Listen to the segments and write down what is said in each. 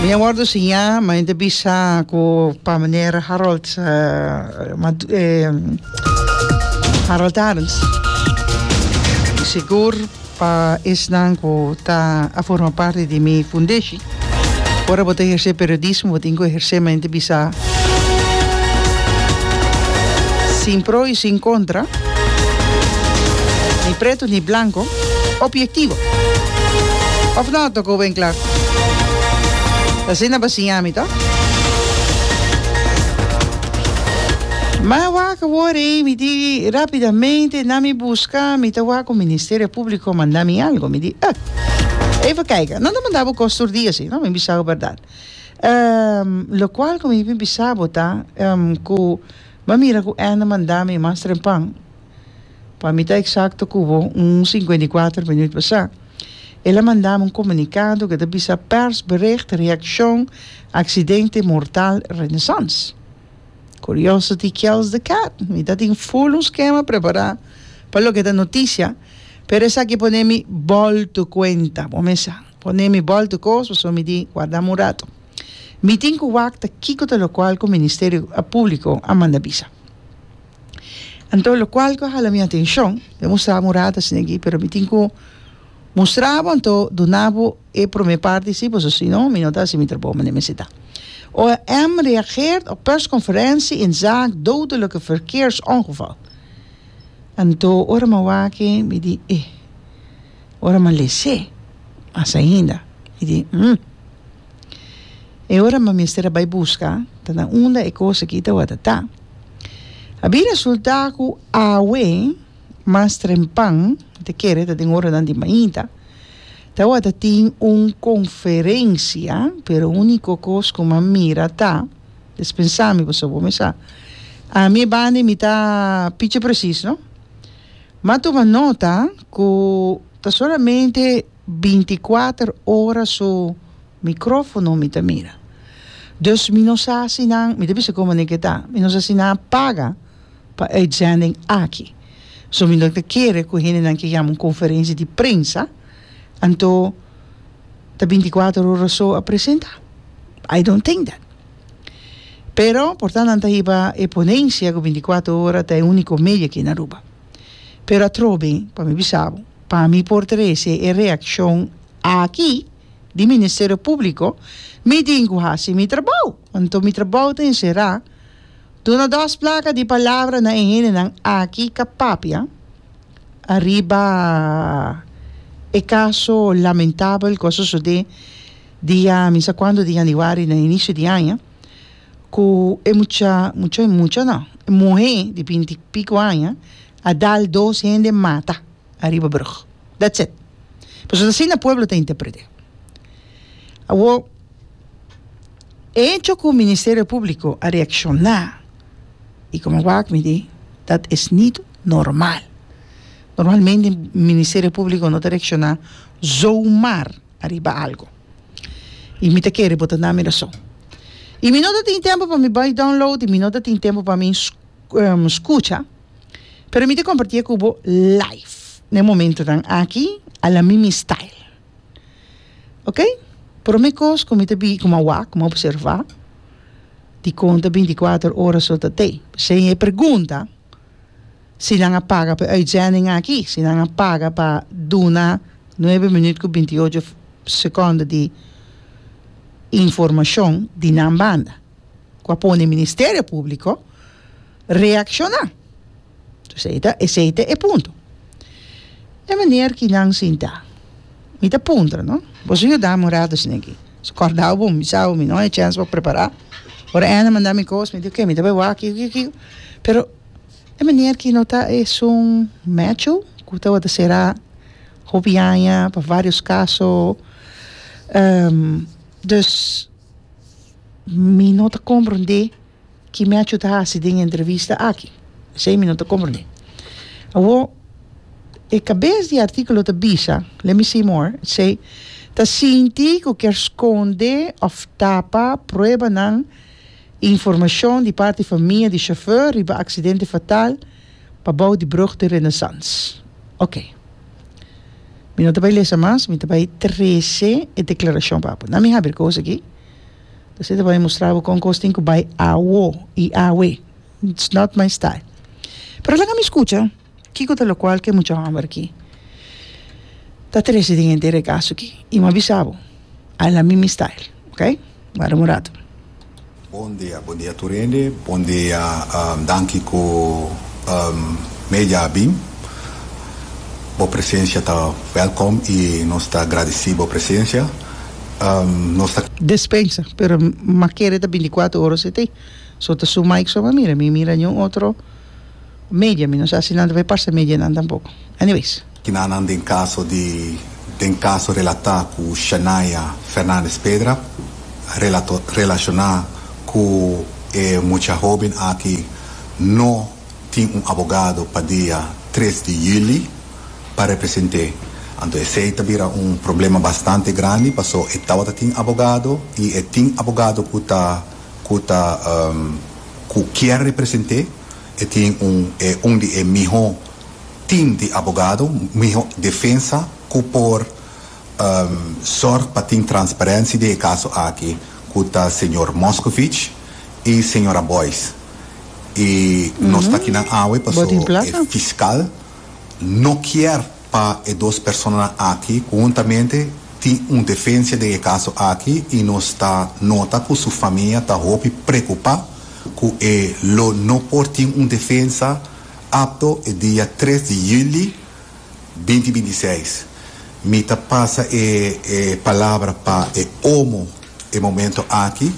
Mi a wordo siña, ma hende bisa ku pa meneer Harold Harold Arends. Sigur pa esnan ku ta a forma parti di mi fundeshi. Ora bo ta ehersé periodismo bo tin ku ehersé ma hende bisa sin pro i sin kontra, ni pretu ni blanko, obiektivo. Òf no, Toko Winkler? Ta asina bo a siña mi, to? Ma wak awor ei, mi di rapidamente na mi buska, mi ta wak ku Ministerio Públiko manda mi algo. Mi di, eh, even kijken. Nan ta manda bo kos tur dia si, no? Mi bisa bo bèrdat. Lokual ku mi bin bisa bo ta ku mi a mira ku Anne a manda mi mas trempan, pa mi ta eksakto ku bo, un 54 minüt pasá. El a manda mi un komunikado ku ta bisa Persbericht reakshon aksidente mortal Renaissance. Curiosity kills the cat. Mi ta tin full un skema prepará pa loke ta notisia, pero esaki pone mi bòltu kuenta. Bo mesa pone mi bòltu kos pasobra mi di warda mi un rato. Mi tin ku wak ta kiko ta lokual ku Ministerio Públiko a manda bisa. Anto lokual ku a hala mi atenshon, mi a mustra bo un rato asina aki, pero mi tin ku mustra bo anto duna bo E prome parti si, pasobra si no mi no ta hasi mi trabou manera mester ta. OM reageert op persconferentie in zaak dodelijke verkeersongeval. Anto ora mi a wak e mi di eh, ora mi a les'é mas ainda mi di hm. E ora mi mester a bai buska ta na unda e kos aki tawata ta. A bin resulta ku awe mas trempan, mi ta kere ta den oranan di mainta, Tawata tin un conferencia, pero unico cos cu m'a mira ta, despensa mi pasobra bo mi sa, ami e banda mi ta picha precies no, m'a tuma nota cu ta solamente binticuater ora su microfono mi ta mira. Dus mi no sa si nan, mi ta bisa como manera ke ta, mi no sa si nan a paga pa uitzending aki. So mi no ta kere ku hendenan ke yama un konferensia di prensa, anto ta bintikuater ora so a presenta. I don't think that. Pero por ta nan ta hiba e ponensia ku bintikuater ora ta e uniko medio aki na Aruba. Pero atrobe, pa mi bisa bo, pa mi por trese e reakshon aki di Ministerio Públiko, mi tin ku hasi mi trabou. Anto mi trabou ta enserá Duna dos plaka di palabra na e hendenan aki ka papia ariba e kaso lamentabel ku a sosodé dia mi sa kuantu di yanüari na inisio di aña ku e mucha mucha mucha no e muhé di binti piko aña a dal dos hende mata ariba brug. That's it. Pasobra asina pueblo ta interpret'é. Awor. E hecho cu Ministerio Publico a reacciona y como wak mi di dat es niet normal. Normalmente Ministerio Publico no ta reacciona zomaar ariba algo. Y mi ta kere bo ta na mi razon. Y mi no ta tin tempo pa mi bay download y mi no ta tin tempo pa mi scucha, pero mi ta comparti cu bo live na e momentonan aki a la Mimi style. Ok, prome kos ku mi ta bi ku mi a wak, ku mi a observá, dikon ta binti kuater ora so ta tei? P'esei e pregunta si nan a paga pa e uitzending aki, si nan a paga pa duna nuebe minüt ku binti ocho sekònde di informashon di nan banda, ku a pone Ministerio Públiko reakshoná. Esei ta, esei ta e punto. E meneer ki nan sinta, mi ta puntra, no? Boso yuda mi un rato esei aki. So kòrda bo, mi sa bo, mi no haña chèns pa prepará. Ora Anna manda mi kos, mi di oke, mi ta bai wak kiko, kiko, kiko. Pero e meneer ki no ta esun Matthew ku tabata será hopi aña pa vários kaso. Dus mi no ta komprondé. Ki Matthew ta hasi den e entrevista aki? Esei mi no ta komprendé. Awor, e kabes di e artíkulo ta bisa, let me see more, it say, ta sinti ku kier skonde òf tapa pruebanan i informashon di parti famia di shofùr riba aksidente fatal pa bou di brug di Renaissance. Oké. Mi no ta bai lesa mas, mi ta bai trese e deklarashon pa bo. Na mi habri kos aki. Esei ta bai mustra bo kon kos tin ku bai awo i awe. It's not my style. Pero laga mi skucha kiko ta lokual ku e mucha hòmber aki ta trese den henter e kaso aki. I mi a bisa bo, a la mi mi style. Ok? Wara un rato. Bon dia, bon dia tur hende, bon dia, danki ku media a bin. Bo presencia ta welkom i nos ta gradisi bo presencia. Nos ta. Despensa, pero m'a kere ta binticuatro ora si te. So ta su mic so m'a mira, mi mira niun otro media, mi no sa si nan ta bay parse medianan tampoco. Anyways. Kinanan den kaso di den kaso relatá ku Shanaya Fernandez Pedra relato relashoná ku e mucha hóben aki no tin un abogado pa dia tres di yüli pa represent'é. Anto esei ta bira un problema bastante grandi paso e tabata tin abogado i e tin abogado ku ta ku ta ku kier represent'é. E tin un e un di e mihó team di abogado, mihó defensa ku por sòrg pa tin transparensia den e kaso aki ku ta señor Moscovici i señora Boyce. I nos ta kinan awe Bo paso tin e plaka? fiskal no kier pa e dos personanan aki huntamente tin un defensia den e kaso aki i nos ta nota ku su famia ta hopi preokupá ku e lo no por tin un defensa apto e dia tres di yüli binti binti seis. Mi ta pasa e e palabra pa e omo e momento aki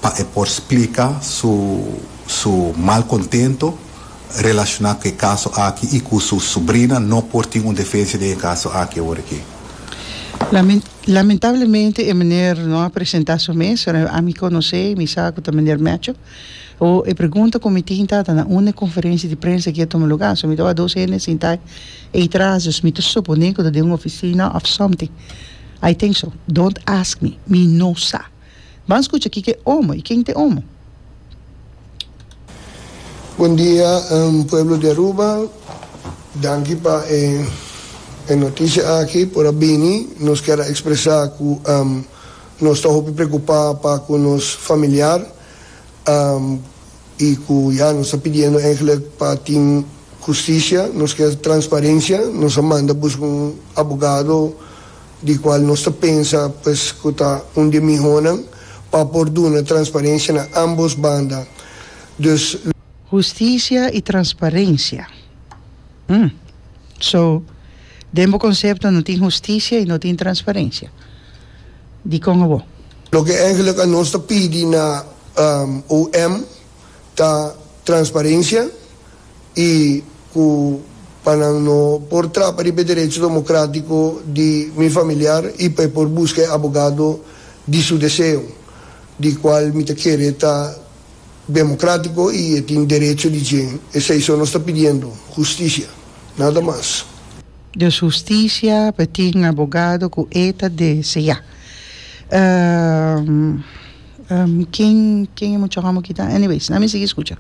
pa e por splika su su malcontento relaciona cu e caso aki y cu su sobrina no por tin un defensa den e caso aki awor aki. Lamentablemente e meneer no a presenta su mes, pero ami conoce y mi sa cu ta meneer Matthew. O e pregunta cu mi tin ta, ta na unda e conferencia di prensa aki a tuma lugar? So mi ta wak dos hende sinta ey tras, dus mi ta supone cu ta den un oficina of something. I think so. Don't ask me. Mi no sa. Ban scucha kico e omo y ken ta e omo. Bon dia pueblo di Aruba, danki pa e noticia aki por a bini. Nos kier a expresa cu nos ta hopi preocupa pa cu nos familiar y cu ya nos ta pidiendo eigenlijk pa tin husticia, nos kier transparencia, nos a manda busca un abogado di cual nos ta pensa pues cu ta un di e mihonan pa por duna transparencia na ambos banda. Dus. Husticia y transparencia. Hm. So, den bo concepto no tin husticia y no tin transparencia. Dicon abo? Loke eigenlijk a nos ta pidi na OM ta transparencia y cu pa nan no por trapa riba e derecho democratico di mi familiar y pa e por busca e abogado di su deseo, di cual mi ta kere ta democratico y e tin derecho di dje. Esey so nos ta pidiendo, husticia, nada mas. Dus husticia pa tin abogado cu e ta desea. Ken ken e mucha homo ki ta? Anyways, na mi sigui scucha.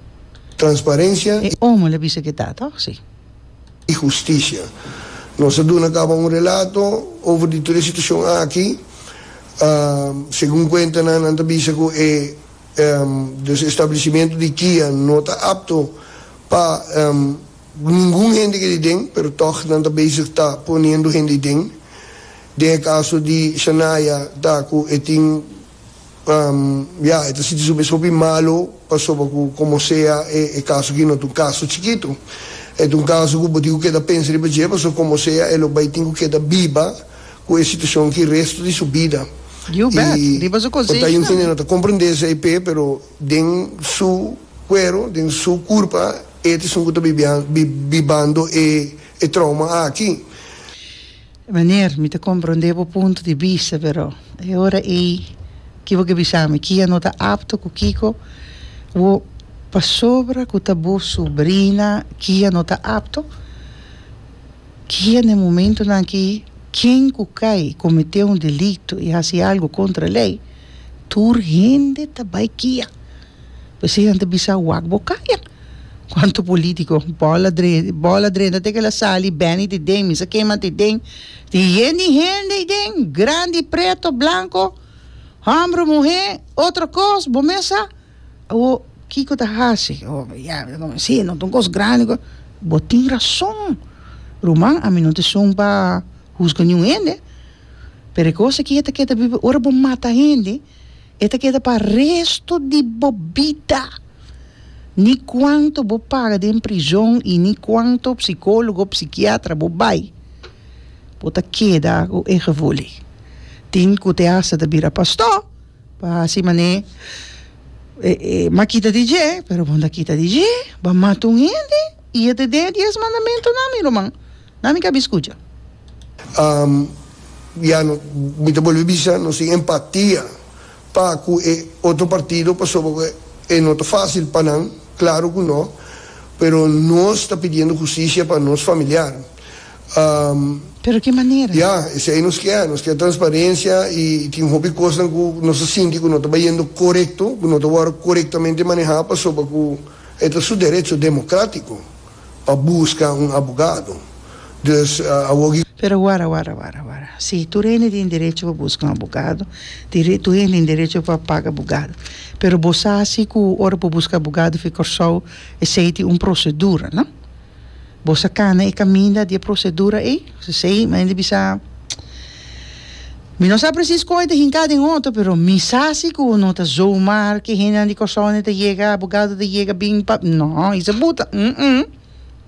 Transparencia. E omo la bisa ke ta, toch? Si. Y husticia. Nos a duna caba un relato over di tur e situacion aki. Segun cuentanan nan ta bisa cu e dus establecimiento di kia no ta apto pa ningun hende keda den, pero toch nan ta bezig ta poniendo hende den. Den e caso di Shanaya ta cu e tin. Ya, e ta sinti su mes hopi malu pasobra ku komo sea e kaso aki no ta un kaso chikitu. E ta un kaso ku bo tin ku keda pensa riba dje pasobra komo sea e lo bai tin ku keda biba ku e situashon aki resto di su bida. You bet. I Riba su por ta konsenshi un hende tambe. no ta komprendé esei p'e pero den su kuero, den su kurpa e ta esun ku ta bibando e trauma aki. Meneer, mi ta comprende bo punto di bista, pero e ora ei ki bo ke bisa mi? Kia no ta apto ku kiko? Bo pasobra ku ta bo sobrina kia no ta apto? Kia na e momentonan aki ken ku kai komete un delito i hasi algo kontra lei, tur hende ta bai kia. P'esei nan ta bisa wak bo kaya. Kuantu politiko bòl a drenta, bòl a drenta te ke el a sali, Benny te den, mi sa ken mas te den. Tin yen di hende ei den, grandi, preto, blanko. Hòmber o muhé, otro kos, bo mes sa. Awor, kiko ta hasi? Oh, ya, si, no ta un kos grandi. Bo tin rason. Ruman, ami no ta esun pa husga niun hende. Pero e kos aki e ta keda biba, ora bo mata hende, e ta keda pa resto di bo bida. Ni kuanto bo paga den prizon i ni kuanto psikólogo, psikiatra bo bai, bo ta keda ku e gevoel ei. Tin ku te hasta ta bira pastó pa hasi manera e m'a kita di dje, pero bo no ta kita di dje, bo a mata un hende i e ta den e dies mandamentunan, mi ruman. Nan mi kabi skucha. Ya no, mi ta bolbe bisa, nos tin empatia pa ku e otro partido pasobra ku e no ta fásil pa nan, klaro ku no, pero nos ta pidiendo hustisia pa nos familiar. Pero ki manera? Ya, esei nos kier, nos kier transparensia i tin hopi kosnan ku nos ta sinti ku no ta bayendo korekto, ku no ta wòrdu korektamente manehá pasobra ku e ta su derecho demokratiko. Pa buska un abogado. Dus awor ki. Pero wara wara wara wara. Si, tur hende tin derecho pa buska un abogado, tur hende tin derecho pa paga abogado. Pero bo sa si ku ora bo buska abogado fi Kòrsou esei tin un prosedura, no? Bo sa kana e kaminda di e prosedura ei? Esei mi hende bisa, mi no sa presis kon e ta hinká den otro, pero mi sa si ku no ta zomaar ke hendenan di Kòrsou ta yega, abogado ta yega bin pa, no, i sa buta, mm-mm.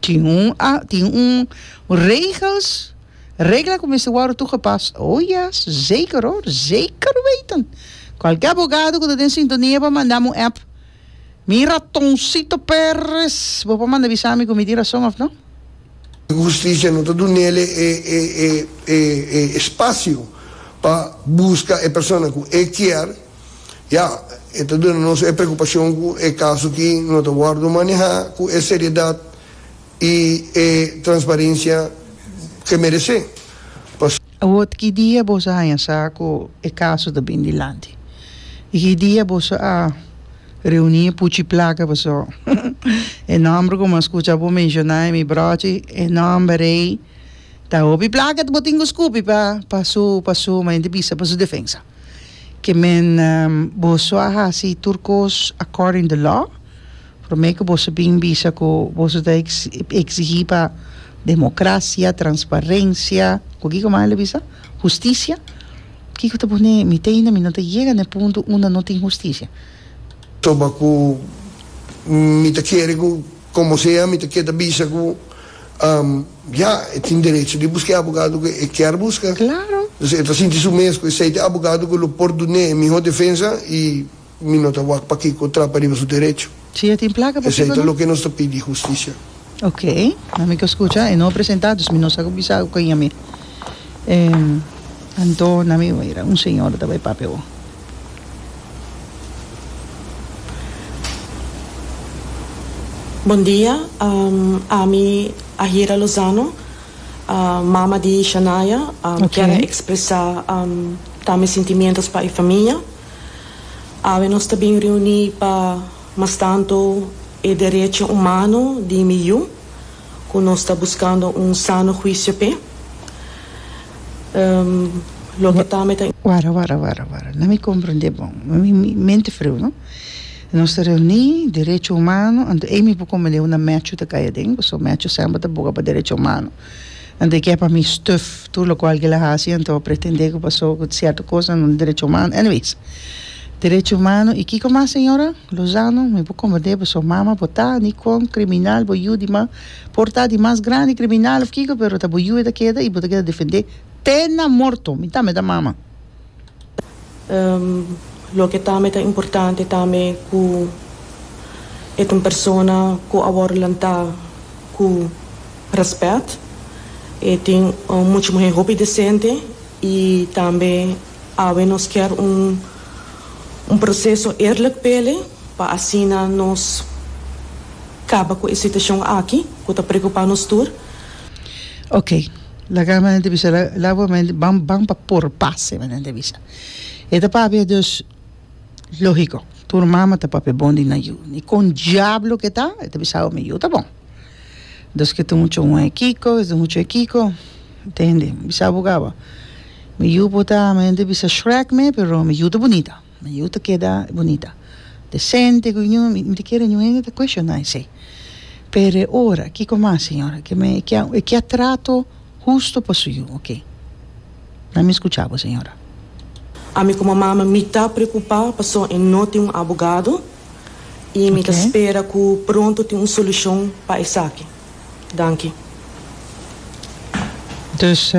Tin un a, tin un regels, regla ku mester wòrdu toegepast. Oh yes, zeker hoor, zeker weten. Kualke abogado ku ta den sintonia por manda mi un app. Mi ratoncito Perez, bo por manda bisa mi ku mi tin rason òf no? Husticia no ta dunele e e espacio pa busca e persona cu e kier, ya, e ta duna nos e preocupacion cu e caso aki no ta wordo maneha cu e seriedad y e transparencia cu e merece. Pas. Awor ki dia boso a haña sa cu e caso ta bin dilanti? Y ki dia boso a Reuní e puchi plaka paso e nòmber ku mi a skucha bo menshoná e mi bròchi e nòmber ei ta hopi plaka bo tin ku skupi pa pa su pa su manera di bisa pa su defensa. Ke men boso a hasi tur kos according the law promé ku boso bin bisa ku boso ta eksigí pa demokrasia, transparensia, ku kiko mas el a bisa? Hustisia. Kiko ta pone mi te ainda mi no ta yega na e punto unda no tin hustisia. Toba ku mi ta kere ku komo sea mi ta keda bisa ku ya e tin derecho di buska e abogado ku e kier buska. Claro. Dus e ta sinti su mes ku esei ta e abogado ku lo por dun'é e miho defensa i Mi no ta wak pakiko trapa riba su derecho. Si e tin plaka pakiko no? Esei ta loke nos ta pidi hustisia. Ok, na mi ka skucha, e no a presenta, dus mi no sa ku bisa ku kaña mi. Anto na mi mira un señora ta bai papia awor. Bon dia, ami Ahira Lozano, mama di Shanaya, kier a expresa ta mi sentimientos pa e famia. Awe nos ta bin reuní pa mas tantu e derecho humano di mi yu, ku nos ta buskando un sano huisio p'e. Loke tambe ta. Wara, wara, wara, wara. Na mi komprendé bon. Mi mente friu, no? Nos ta reuní, derecho humano, anto ei mi por komprendé unda Matthew ta kai aden, pasobra Matthew semper ta boga pa derecho humano. Anto e ke pa mi stuf tur lokual ke el a hasi, anto a pretendé ku pasó ku sierto kosnan no ta derecho humano. Anyways, derecho humano i kiko mas señora Lozano? Mi por komprendé pasobra mama bo ta ni kon kriminal bo yu di mas por ta di mas grandi kriminal òf kiko pero ta bo yu e ta keda i bo ta keda defendé te na morto. Mi tambe ta mama. Loke tambe ta importante tambe ku e ta un persona ku a wòrdu lantá ku rèspèt. E tin un mucha muhé hopi desente i tambe awe nos kier un un proseso eerlijk p'ele pa asina nos kaba ku e situashon aki ku ta preokupá nos tur. Oké, laga mi a bisa, laga mi ban ban pa por pase mi a bisa. E ta papia dus lógiko, tur mama ta papia bon di nan yu. Ni kon diablo ke ta, e ta bisa mi yu ta bon. Dus ke ta mucho un e kiko, ke ta mucho e kiko, tende, bisa bo kaba. Mi yu por ta, mi hende bisa Shrek me, pero mi yu ta bunita. Mi yu ta keda bunita. Decente ku ñu, mi ta kere ñu hende ta cuestiona esei. Pero e ora, kiko mas señora? Ke me, e kia, e kia trato husto pa su yu, oke. Na mi skucha bo señora. Ami komo mama mi ta preocupa paso e no tin un abogado y mi ta spera cu pronto tin un solucion pa esaki. Danki. Dus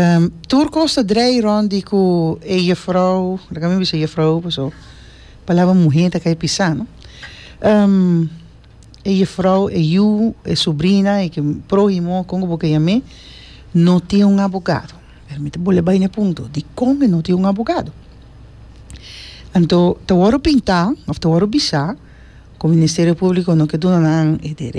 tur kos ta drei rond di ku e jefrouw, laga mi bisa jefrouw paso palabra muhe ta kai pisa no, e jefrouw, e yu, e sobrina, e prohimo, kon ku bo ke yam'é, no tin un abogado. Pero mi ta bolbe bai na e punto, dikon e no tin un abogado? Anto ta wòrdu pintá òf ta wòrdu bisá ku Ministerio Públiko no ke duna nan e derecho.